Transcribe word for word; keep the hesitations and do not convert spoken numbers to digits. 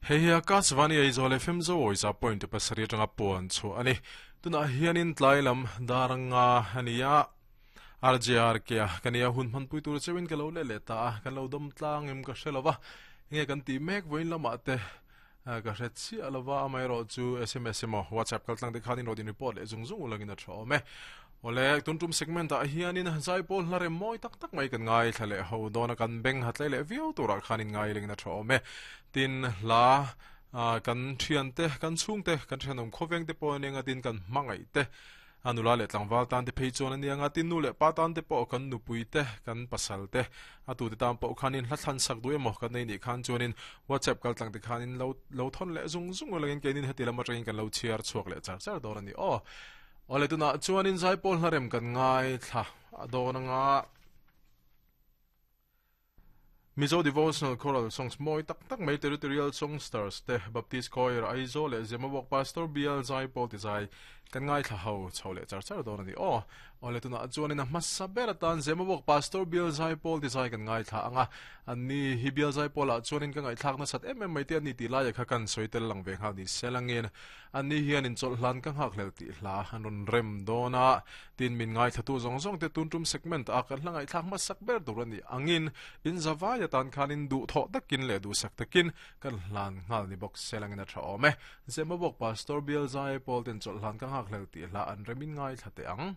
Hei hi Akashvani Aizawl F M Zo za point pasarih atanga puan chu ani. Tunah hianin tlai lam daranga ania R J R K a kania hun hmanpui tur chewin ka lo le le ta kan lo dam tlang em ka hrelova nge kan ti mek voin lama te ka hre chi alawa amai ro chu S M S emaw WhatsApp kal tlang te khanin rodin report le zung zung ulangin a tha awm e. Ole tuntum segment a hianin zaipawl hlare moi tak tak mai kan ngai thlale ho dona kan beng hatlai le viau tura khanin ngai lengna tha awm e. Tin la kan thian te kan chung te kan thianom khoveng te pawh nenga tin kan mangai te anula le tlangwal tan te phei chuan ania nga tin nu le pa tan te pawh kan nupui te kan pasal te atu te tam pawh khanin hla thlan sak du emaw kan nei ni khan chuanin WhatsApp kal tlang te khanin lo lo thon le zung zung langin keinin heti lama tangin kan lo chhiar chhuak le char char dawr ani aw. Ole tuna chuanin zaipawl hlarem kan ngai thla adawna nga Mizo Devotional Choral Songs moi tak tak mai Territorial Songsters te Baptist Choir Aizawl le Zemabawk Pastor B L Zaipawl ti zai kan ngai thla ho chho le char char dawn ani aw. Ole tuna chuanin a hmasa ber atan Zemabawk Pastor B L Zaipawl ti zai kan ngai thla anga anni hi B L Zaipawl ah chuanin ka ngai thlak na sat em em mai te ani ti lai kha kan soitel lang ve nghal ni selangin anni hian in chawlh hlan ka nghak hlel ti hla an rawn rem dawna tin min ngai thla tu zawng zawng te tun tum segment a kan hla ngai thlak hmasak ber tur ani angin in zawai atan khanin du thaw takin le du sak takin kan hlan nghal ni bawk selangin a tha awm e. Zemabawk Pastor B L Zaipawl ten chawlh hlan ka nghak hlel ti hla an remin ngai thla te ang.